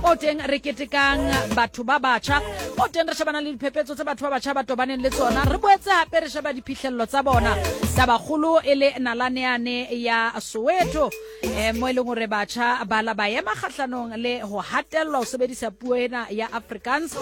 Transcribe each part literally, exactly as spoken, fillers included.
O teng re ketekang batho ba batjha, o teng re shebana le diphephetso tse batho ba batjha ba tobaneng le tsona, re boetse hape re sheba diphihlello tsa bona. Tabakgolo e le nalaneane ya Soweto, eh, mo e leng hore batjha ba la ba ema kgahlanong le ho hatellwa ho sebedisa puo ena ya Afrikaans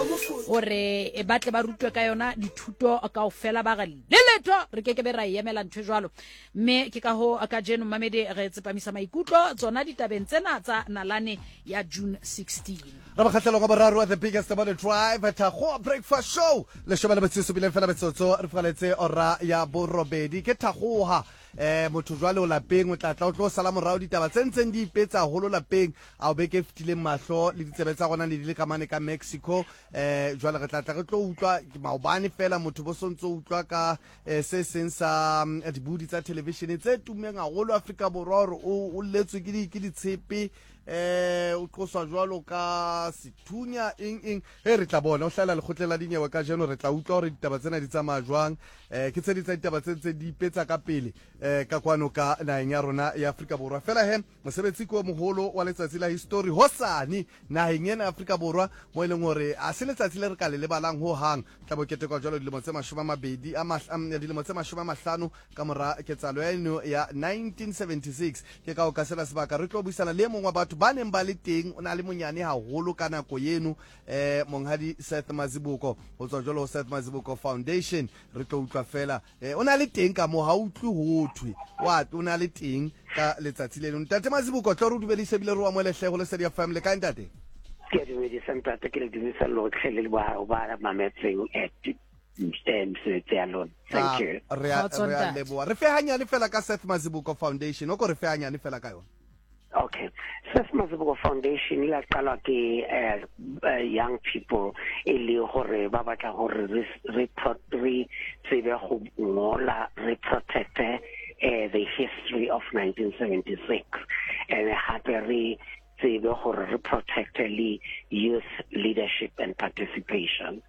hore ba tle ba rutwe ka yona dithuto kaofela, ba re le letho re ke ke be ra e emela ntho e jwalo. Mme ke ka ho kajeno mmamedi re tsepamisa maikutlo tsona ditabeng tsena tsa nalane ya June sixteen. Re bakgatlhelong wa boraro wa The Biggest Morning Drive, Thakgoa Breakfast Show. Leshome le metsotso bileng fela metsotso re figaletse ora ya borobedi. Ke Thakgoa, eh motho jwale o lapeng, o tla tla o tlo sala morao ditaba tse ntseng di ipetsa haholo lapeng. A o beke fetileng mahlo le ditsebe tsa rona ne di le ka mane ka Mexico. Eh jwale re tla tla re tlo utlwa maobane fela motho bo sontso utlwa ka eh, se seng sa mm, dibudi tsa television tse tummeng haholo Afrika Borwa hore o o letswe ke di ke ditshepe, eh o qoswa jwalo ka sethunya eng eng. He re tla bona o hlahela lekgotleng la dinyewe kajeno, re tla utlwa hore ditaba tsena di tsamaya jwang. Eh ke tse ding tsa ditaba tse ntse di ipetsa ka pele eh ka kwano ka naheng ya rona ya Afrika Borwa. Fela he mosebetsi ke o moholo wa letsatsi la history hosane naheng ena ya Afrika Borwa, mo e leng hore a se letsatsi le re ka le lebalang ho hang. Tla bo ketekwa jwalo dilemo tse mashome a mabedi a mahla- dilemo tse mashome a mahlano ka mora ketsahalo ya eno ya nineteen seventy-six. Ke ka o ka sena sebaka re tlo buisana le e mong wa batho ba neng ba le teng, o na le monyane haholo ka nako eno, eh monghadi Seth Mazibuko ho tswa jwalo ho Seth Mazibuko Foundation. Re tlo utlwa fela eh o na le teng ka mo ha utlwe ho thwe wa o na le teng ka letsatsi leno. Ntate Mazibuko, tlo re dumedise ebile re o amohele hle ho Lesedi F M. Le kae ntate? Ke a dumedisa ntate, ke le dumedisa lotlhe le ba ba mametseng eh mesebetsi ya lona. Thank you. Re a Kgotso, re a ntate. leboha. Re fe hanyane fela ka Seth Mazibuko Foundation, o ko re fe hanyane fela ka yona. Okay. Seth Mazibuko Foundation e la qalwa ke eh, eh, young people e le hore ba batla hore re re pro- re tsebe go ngola, re protect eh, the history of nineteen seventy-six, and hape re tsebe hore re protect le youth leadership and participation.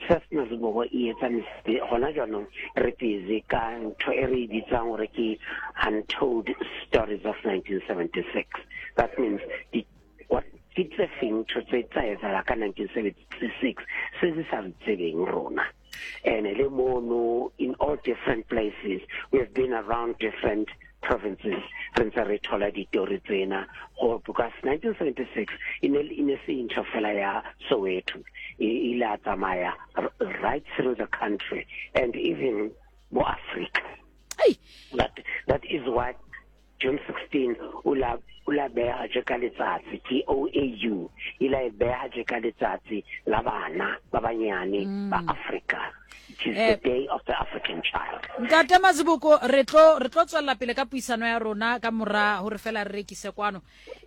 Seth Mazibuko e etsa mesebetsi hona jwanong, re busy ka ntho e re e bitsang hore ke Untold Stories of nineteen seventy-six. That means di what ke tse feng ntho tse tsa etsahala ka nineteen seventy-six se se sa re tsebeng rona. And le mono in all different places, we have been around different provinces, re ntse re thola ditori tsena go, because nineteen seventy-six e ne e ne se ntho fela ya Soweto, e ile a tsamaya r-, right through the country and even mo Africa. Hey. That, that is what June sixteen o la, o la beha je ka letsatsi, ke O A U, e la e beha je ka letsatsi la bana ba banyane Mm. ba Africa. It is Eh, the day of the African child. Ntate Mazibuko, re tlo, re tlo tswella pele ka puisano ya rona ka mora hore fela re rekise kwano.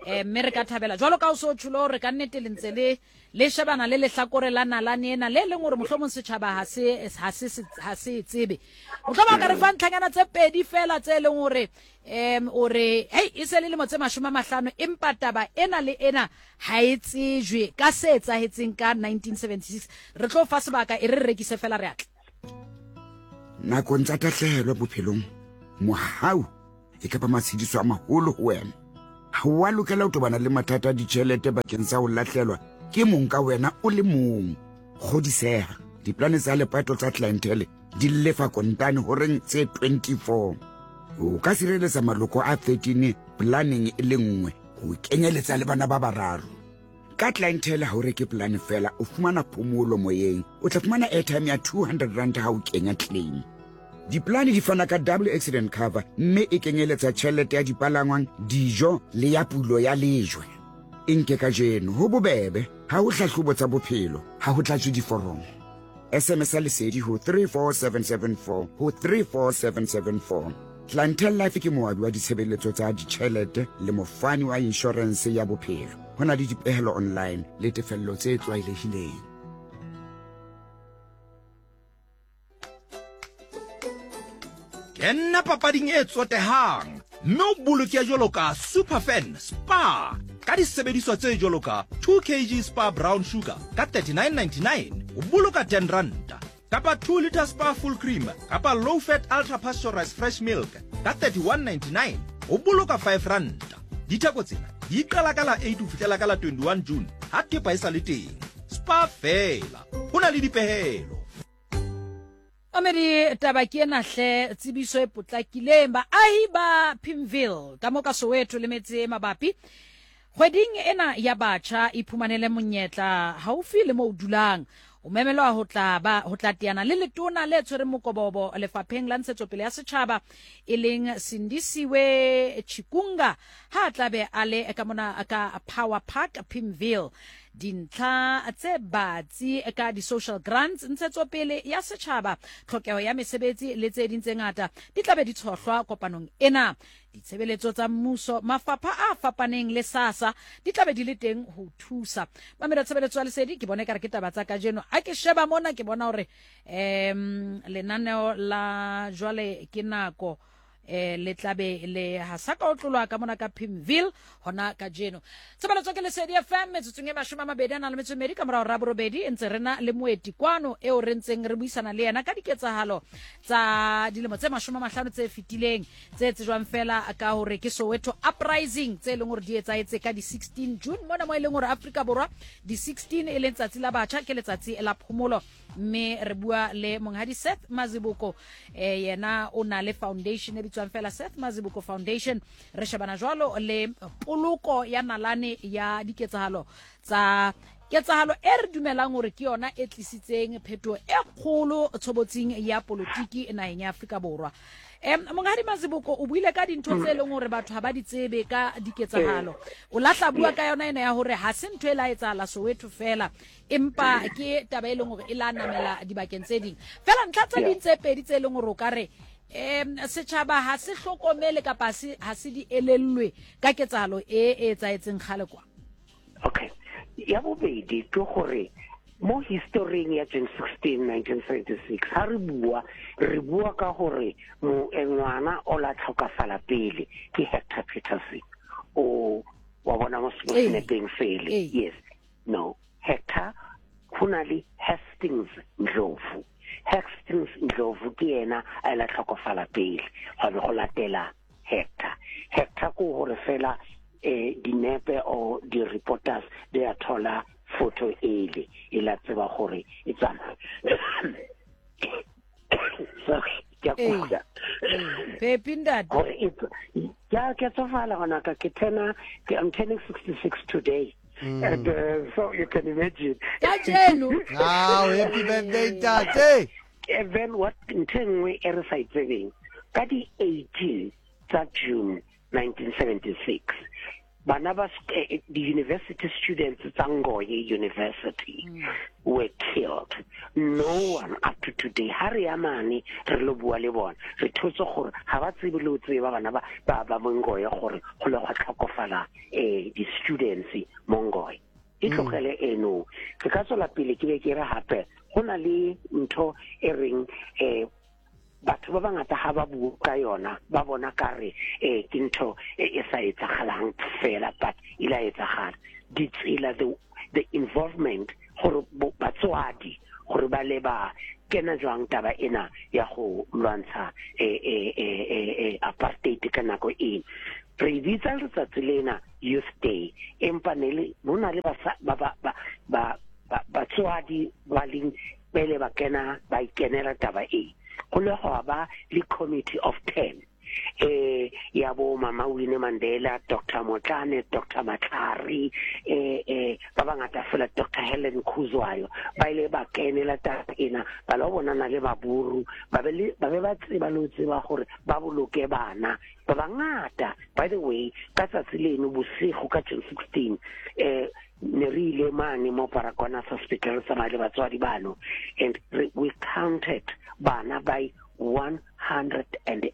Eh, mme re ka thabela jwalo ka o so tjholo hore ka nnete le ntse le, le shebana le lehlakore la nalane ena le leng hore mohlomong setjhaba ha se, ha se, ha se e tsebe. Mohlomong ka re fa ntlhanyana tse pedi fela tse leng hore, em, o re, hey, e se le lemo tse mashome a mahlano, empa taba ena le ena ha e tsejwe ka se etsahetseng ka nineteen seventy-six. Re tlo fa sebaka e re rekise fela re atle. Nakong tsa tahlehelo bophelong, mohau e ka ba matshediso a maholo ho wena. Ha o a lokela ho tobana le mathata a ditjhelete bakeng sa ho lahlehelwa ke mong ka wena o le mong. Kgodiseha, diplane tsa lepato tsa clientele di lefa kontane horeng tse twenty-four. O ka sireletsa maloko a thirteen planeng e le nngwe ho kenyeletsa le bana ba bararo. Ka clientele ha o reke plan fela, o fumana phomolo moyeng. O tla fumana airtime ya two hundred rand ha o kenya claim. Diplane di fana ka double accident cover mme e kenyeletsa tjhelete ya dipalangwang, dijo le ya pulo ya lejwe. E nke kajeno ho bobebe, ha ho hlahlobo tsa bophelo, ha ho tlatswe diforomo. S M S ya Lesedi ho three four seven seven four ho three four seven seven four. Clientele Life ke moabi wa ditshebeletso tsa ditjhelete le mofani wa inshorense ya bophelo. Ho na le dipehelo online le tefello tse tlwaelehileng. Kenna papading e tsotehang mme o boloke jwalo ka Superfan Spa ka disebediswa tse jwalo ka two kilograms Spa brown sugar ka thirty-nine ninety-nine, o boloka ten ranta, kapa two liter Spa full cream kapa low fat ultra pasteurized fresh milk ka thirty-one ninety-nine, o boloka five ranta. Ditheko tsena di qala ka la eight ho fihlela ka la twenty-one June ha thepa e sa le teng. Spar feela, ho na le dipehelo. Amedi taba ke ena hle, tsebiso e potlakileng. Baahi ba Pimville ka mo ka Soweto le metse e mabapi, kgweding ena ya batjha iphumanele monyetla haufi le mo o dulang. O memelwa ho tla ba ho tla teana le letona le tshwereng mokobobo lefapheng la ntshetsopele ya setjhaba e leng Sindisiwe Chikunga, ha tla be a le ka mona ka Power Park Pimville. Dintlha tse batsi ka di-social grants, ntshetsopele ya setjhaba, tlhokeho ya mesebetsi le tse ding tse ngata di tla be di tshohlwa kopanong ena. Ditshebeletso tsa mmuso, mafapha a fapaneng le SASSA di tla be di le teng ho thusa. Mamela tshebeletso ya lesedi, ke bone ekare ke taba tsa kajeno. Ha ke sheba mona ke bona hore um lenaneo la jwale ke nako eh le tlabe le hasaka o tlolwa ka mona ka Pimville hona kajeno. Tshebeletso ke Lesedi F M metsotsong e mashome a mabedi a nang le metso e mmedi ka morao ra borobedi, ntse re na le moeti kwano eo re ntseng re buisana le yena ka diketsahalo tsa dilemo tse mashome a mahlano tse fetileng tse tsejwang fela ka hore ke Soweto Uprising, tse leng hore di etsahetse ka di sixteen June mona mo e leng hore Afrika Borwa di sixteen e leng tsatsi la batjha, ke letsatsi la phomolo. Mme re bua le monghadi Seth Mazibuko, eh yena o na le foundation e bitswang fela Seth Mazibuko Foundation. Re shebana jwalo le poloko ya nalane ya diketsahalo tsa ketsahalo e re dumelang hore ke yona e tlisitseng phetoho e kgolo tshobotsing ya politiki naheng ya Afrika Borwa. Em monghadi Mazibuko, o buile ka dintho tse leng hore batho ha ba di tsebe ka diketsahalo. O lahla bua ka yona ena ya hore ha se ntho e la etsahala Soweto fela, empa ke taba e leng hore e la namela dibakeng tse ding. Fela ntlha tse ding tse pedi tse leng hore o ka re em setjhaba ha se hlokomele kapa se ha se di elellwe ka ketsahalo e e etsahetseng kgale kwa. Okay. Ya bobedi ke hore mo historing ya June sixteen nineteen seventy-six ha re bua re bua ka hore ngwana o la tlhokafala pele ke Hector Peterson. O wa bona mo senepeng fele. Yes. No, Hector ho na le Hastings Ndlovu. Hastings Ndlovu ke yena a la tlhokafala pele ga be go latela Hector. Hector ko hore fela eh dinepe o di reporters they are thola photo ele e la tseba gore e tsama. Sorry, ke a kula. Pepi ntate. Gore e ya ke tsofala gona ka ke tena ke I'm turning sixty-six today. Mm. And uh, so you can imagine. Kajeno. Ah, happy birthday ntate. And then what ntho e nngwe e re sa e tsebeng ka di eighteen tsa June nineteen seventy-six bana ba the university students tsa Ngoye University mm. were killed. No one up to today ha re ya mane re lo bua le bona re thotse gore ha ba tsebe le o tseba bana ba ba ba Ngoye gore go le gwa tlhokofala eh di students mo Ngoye. E tlogele eno ke ka tswela pele ke be ke re hape go na le ntho e reng eh batho ba bangata ha ba bua ka yona ba bona ka re eh ke ntho e sa etsagalang fela, but e la etsagala. Ditsela the the involvement gore batswadi gore ba le ba kena jwang taba ena ya go lwantsha eh eh eh apartheid ka nako e re bitsa letsatsi lena Youth Day, empa ne le bona le ba ba ba ba batswadi ba leng pele ba kena ba ikenela taba e go le go ba le committee of ten eh ya bo Mama Winnie Mandela, Doctor Motlane, Doctor Matlari, eh eh ba bangata fela, Doctor Helen Khuzwayo ba ile ba kenela taba ena ba lo bonana le baburu ba be ba be ba tseba le tseba gore ba boloke bana ba bangata. By the way, ka tsatsi leno bosigo ka June sixteen eh ne re ile mane mo Baragwanath Hospital tsamaya le batswadi bano, and we counted bana by one hundred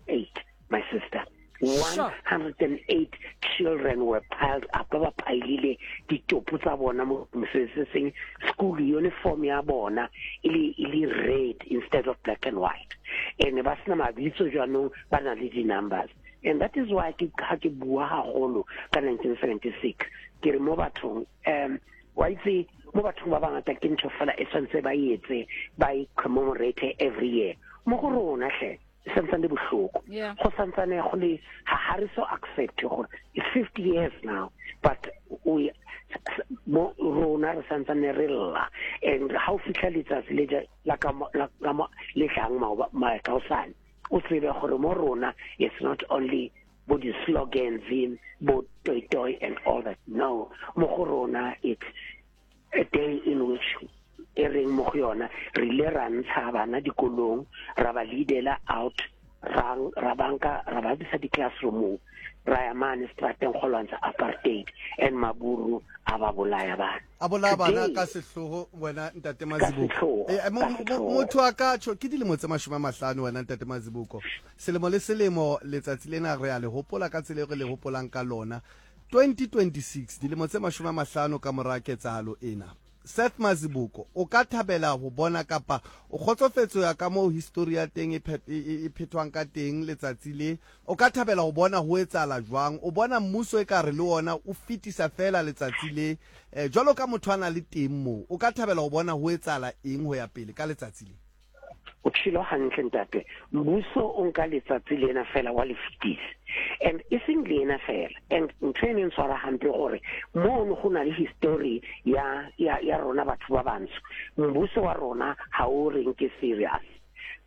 eight, my sister. one hundred eight children were piled up. Ba pailile ditopo tsa bona mo seng school uniform ya bona e le e le red instead of black and white, and ba sena mabitso jwanong ba na le di numbers. And that is why ke ha ke bua haholo ka nineteen seventy-six ke re mo bathong um wa itse mo bathong ba bangata ke ntho fela e tshwanetse ba etse ba e commemorate every year. Mo go rona hle E santsane le bohloko. Go santsane go le ha re so accept gore it's fifty years now, but we mo rona re santsane re lla. And ha o fihla letsatsi le la ka la le tlang maoba kaosane, o tsebe gore mo rona it's not only bo di-slogans bo toy toy and all that. No, mo go rona it's a day in which e reng mo go yona re ile ra ntsha bana dikolong, ra ba leadela out, ra ra banka ra ba bisa di-classroom, ra ya mane strateng go lwantsha apartheid, and maburu a ba bolaya bana. A bolaya bana ka sehloho wena ntate Mazibuko. Motho a ka tjho ke dilemo tse mashome a mahlano wena ntate Mazibuko. Selemo le selemo letsatsi lena re a le hopola ka tsela e re le hopolang ka lona. twenty twenty-six dilemo tse mashome a mahlano ka mora ketsahalo ena. Seth Mazibuko, o ka thabela ho bona kapa o kgotsofetse ya ka moo history ya teng e phethwang ka teng letsatsi le, o ka thabela ho bona ho etsahala jwang? O bona mmuso e ka re le wona o fetisa fela letsatsi le, jwalo ka motho a na le teng moo, o ka thabela ho bona ho etsahala eng ho ya pele ka letsatsi le? O tshilo hantle ntate, mmuso o nka letsatsi lena fela wa le fetisa, and e seng lena fela. And ntho e neng tshwara hampe gore mono go na le history ya ya ya rona batho ba bantsho, mmuso wa rona ha o re nke serious.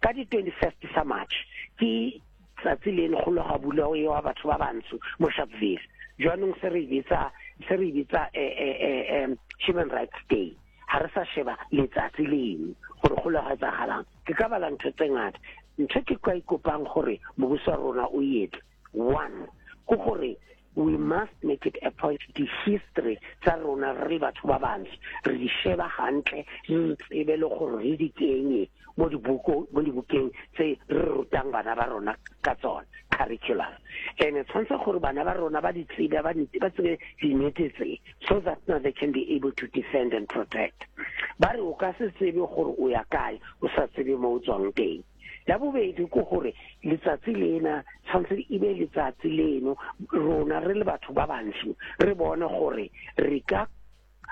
Ka di twenty-first sa March ke tsatsi leno go lo ga bulwa wa batho ba bantsho mo Sharpeville. Jwanong se re bitsa se re bitsa eh eh Human Rights Day. Ha re sa sheba letsatsi leno gore go lo ga etsagalang. Ke ka bala ntho tse ngata. Ntho ke kwa ikopang gore mmuso wa rona o etse. One, ke gore we must make it a point the history tsa rona re batho ba bantsho re di sheba hantle, re tsebe le gore re di kenye mo dibuko mo dibukeng tse re rutang bana ba rona ka tsona, curriculum. And tshwanetse gore bana ba rona ba di tsebe, ba ba tsebe dinnete tse, so that now they can be able to defend and protect. Ba re o ka se tsebe gore o ya kae o sa tsebe mo o tswang teng. La bobedi ke gore letsatsi lena tshwanetse e be letsatsi leno rona re le batho ba bantsho re bone gore re ka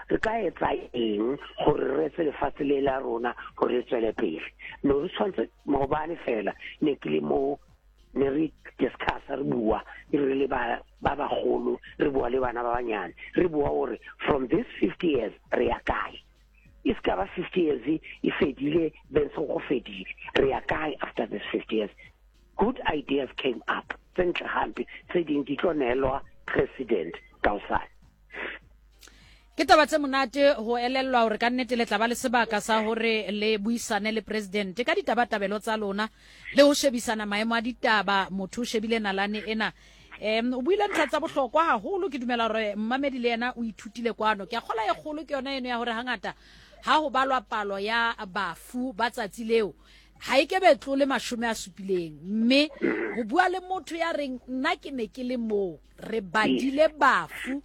re ka etsa eng gore re etse lefatshe le la rona gore re tswele pele. No re tshwanetse maobane fela ne ke le mo ne re discuss re bua re le ba ba bagolo re bua le bana ba banyane re bua gore from this fifty years re ya kae. E ska ba fifty years e fedile, then so go fedile, re ya kae after this fifty years. Good ideas came up tse ntle hampe tse ding di tlo neelwa president kaosane. Ke taba tse monate ho elellwa hore ka nnete le tla ba le sebaka sa hore le buisane le president ka ditabatabelo tsa lona le ho shebisana maemo a ditaba. Motho o shebile nalane ena. Em o buile ntlha tsa bohlokwa haholo, ke dumela hore mmamedi le yena o ithutile kwano. Ke a kgola e kgolo ke yona eno ya hore hangata ha ho balwa palo ya bafu ba tsatsi leo ha e ke be tlole mashome a supileng, mme ho bua le motho ya reng nna ke ne ke le moo re badile bafu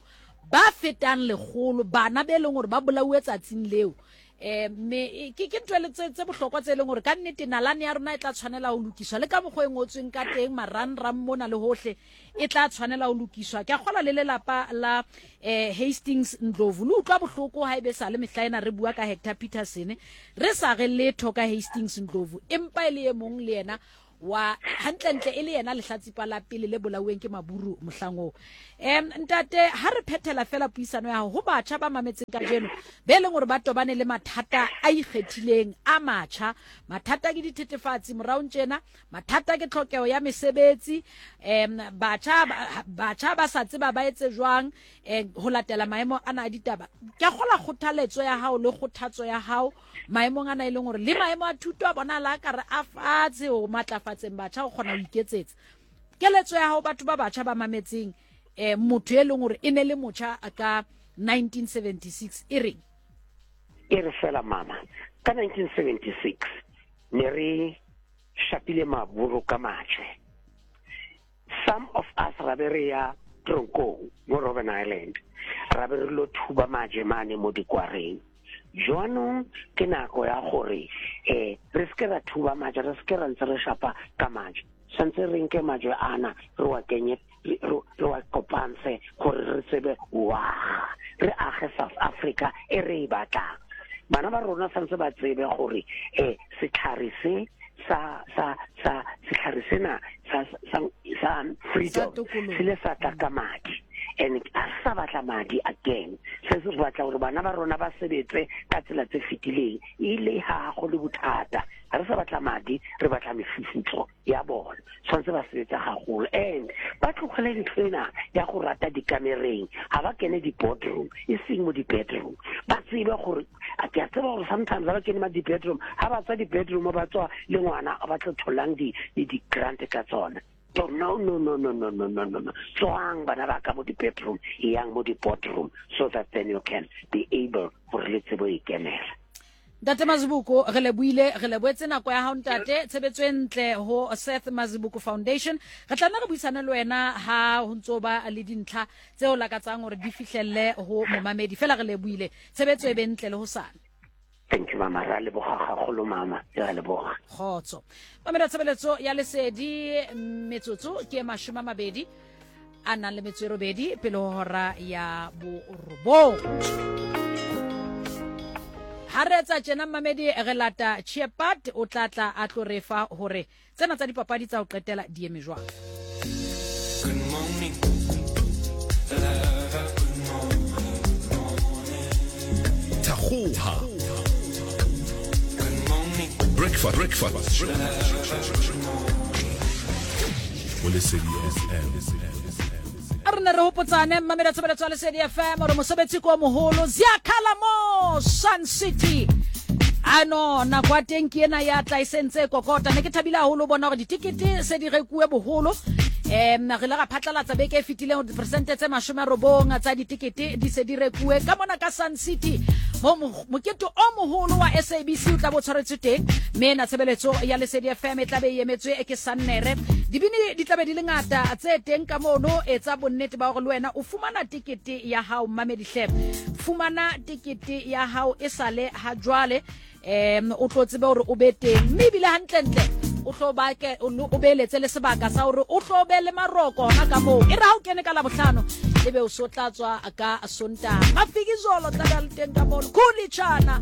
ba fetang lekgolo, bana be leng hore ba bolauwe tsatsing leo. Eh mme ke ke ntho tse tse bohlokwa tse leng hore ka nnete nalane ya rona e tla tshwanela ho lokiswa le ka mokgwa e ngotsweng ka teng marangrang mona le hohle e tla tshwanela ho lokiswa. Ke a kgola le lelapa la eh Hastings Ndlovu le utlwa bohloko ha ebe sa le mehla ena re bua ka Hector Peterson re sa re letho ka Hastings Ndlovu, empa e le e mong le yena wa hantlentle e le yena lehlatsipa la pele le bolauweng ke maburu mohlang oo. Em ntate, ha re phethela fela puisano ya ho batjha ba mametseng kajeno be leng hore ba tobane le mathata a ikgethileng a matjha, mathata ke dithethefatsi moraong tjena, mathata ke tlhokeho ya mesebetsi, em batjha batjha ba sa tseba ba etse jwang ho latela maemo ana a ditaba. Ke a kgola kgothaletso ya hao le kgothatso ya hao maemong ana e leng hore le maemo a thuto a bona la ka re a fatshe ho matlafatseng batjha ho kgona ho iketsetsa. Keletso ya hao batho ba batjha ba mametseng eh motho e leng hore e ne le motjha ka nineteen seventy-six e reng? E re fela mama, ka nineteen seventy-six ne re shapile maburu ka majwe. Some of us ra be re ya tronkong mo Robben Island, ra be re lo thuba majwe mane mo dikwareng. Jwanong ke nako ya gore eh re se ke ra thuba majwe, re se ke ra ntse re shapa ka majwe. Santse re nke majwe ana re wa kenye re wa kopantshe gore re tsebe wa re age South Africa e re e batlang. Bana ba rona santse ba tsebe gore eh setlhare se sa sa sa setlhare sena sa sa sa freedom se le sa tla ka madi and a sa batla madi again. Se se batla gore bana ba rona ba sebetse ka tsela tse fetileng ile ha go le bothata. Ha re sa batla madi, re batla mefufutso ya bona. Tshwanetse ba sebetsa haholo and ba tlogele ntho ena ya go rata dikamereng. Ha ba kene di-boardroom, e seng mo di-bedroom. Ba tsebe gore a ke a tseba gore sometimes ha ba kene ma di-bedroom, ha ba tswa di-bedroom ba tswa le ngwana ba tlo tholang di di-grant ka tsona. No, no, no, no, no, no, no, no, no, no. Tswang bana ba ka mo di-bedroom, yang mo di-boardroom, so that then you can be able gore le tsebo ikemela. Ntate Mazibuko, re lebohile, re lebohetse nako ya hao ntate, tshebetso e ntle ho Seth Mazibuko Foundation. Re tla nna re buisane le wena ha ho ntso ba le dintlha tseo lakatsang hore di fihlelle ho momamedi. Fela re lebohile, tshebetso e be ntle le hosane. Thank you, mama. Ra leboga gagolo, mama. Ra leboga. Kgotso. Mamela tshebeletso ya Lesedi metsotso ke mashome a mabedi a nang le metso e robedi pele ho hora ya borobong. Ha re etsa tjena mmamedi re lata Chepat o tla tla a tlo re fa hore tsena tsa dipapadi tsa ho qetela di eme jwang. Good morning. Good morning. Thagoha. Breakfast, breakfast. Lesedi F M. A re ne re hopotsane mmamedi tshebeletso ya Lesedi F M hore mosebetsi ko moholo Ziyakhala mo Sun City. Ano nako ya teng ke ena ya tla e sentse kokota. Ne ke thabile haholo bona hore ditikete se di rekuwe boholo. Em re le ra phatlalatsa beke e fetileng hore diperesente tse mashome a robong tsa ditikete di se di rekuwe ka mona ka Sun City. Mo mokete o moholo wa S A B C o tla bo tshwaretswe teng, mme na tshebeletso ya Lesedi F M e tla be e emetswe ke Sannere. Dibini di tla be di le ngata tse teng ka mono. Etsa bonnete ba hore le wena o fumana tikete ya hao mmamedi hle. Fumana tikete ya hao e sale ha jwale, em o tlo tsebe hore o be teng, mme ebile hantlentle o tlo ba ke o beletse le sebaka sa hore o tlo be le maroko hona ka moo. E re ha o kene ka Labohlano ebe o so tla tswa ka Sontaha. Mafikizolo tla be le teng ka mono, Khulitshana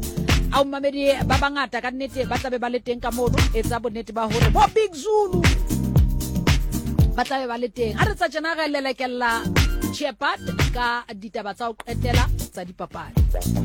ao mmamedi ba bangata ka nnete ba tla be ba le teng ka mono. Etsa bonnete ba hore bo Big Zulu ba tla be ba le teng. Ha re tsa tjena re lelekella Chepat ka ditaba tsa ho qetela tsa dipapadi.